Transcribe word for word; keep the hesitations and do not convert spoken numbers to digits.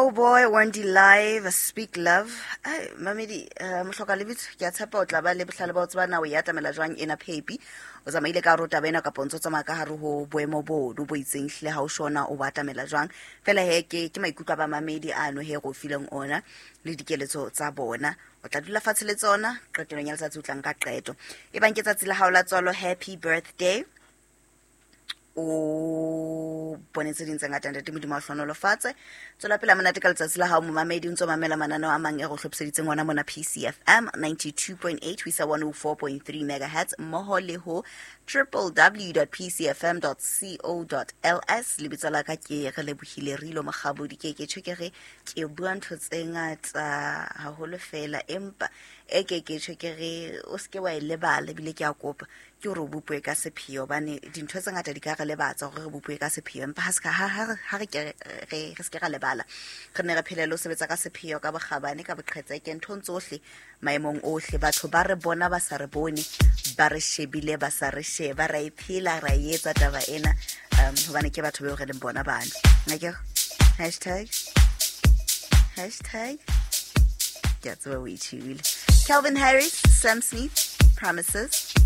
Joeboy, Wendy Live, Speak Love. Ai, mamedi, uh, mohloka lebitso, ke a tshepa o tla ba le bohlale ba ho tseba na o e atamela jwang ena phepi. O tsamaile ka hare ho taba ena kapa o ntso tsamaya ka hare ho boemo bono bo itseng hlile ha o shona o bo atamela jwang. Fela he ke ke maikutlo a bamamedi ano he re o fileng ona le dikeletso tsa bona. O tla dula fatshe le tsona, qetellong ya letsatsi o tla nka qeto. Ebang ke tsatsi la hao la tswalo, happy birthday. O bone tse ding tse ngata, ntate Modimo a o hlohonolofatse. Tswela pele ha monate ka letsatsi la hao momamedi, o ntso mamela mananeo a mang e re o hlophiseditseng ona mona P C F M ninety-two point eight ho isa one oh four point three megahertz mmoho le ho triple w dot p c f m dot c o dot l s. Lebitso la ka ke re lebohile Rilo Mokgabodi. Ke ke tjho ke re ke bua ntho tse ngata haholo fela, empa e ke ke tjho ke re o seke wa e lebala, ebile ke a kopa ke hore o bopwe ka sepheo, hobane dintho tse ngata di ka re lebatsa hore re bopwe ka sepheo, empa ha se ka, ha, ha re, ha re ke re, re, re se ke ra lebala. Re ne re phele le ho sebetsa ka sepheo, ka bokgabane, ka boqhetseke, nthong tsohle, maemong ohle. Batho ba re bona ba sa re bone, ba re shebile ba sa re sheba, ra e phela, ra e etsa taba ena, um, hobane ke batho beo re leng bona bano. Akere? Hashtag, hashtag, ke a tseba o e tjhebile. Calvin Harris, Sam Smith, Promises.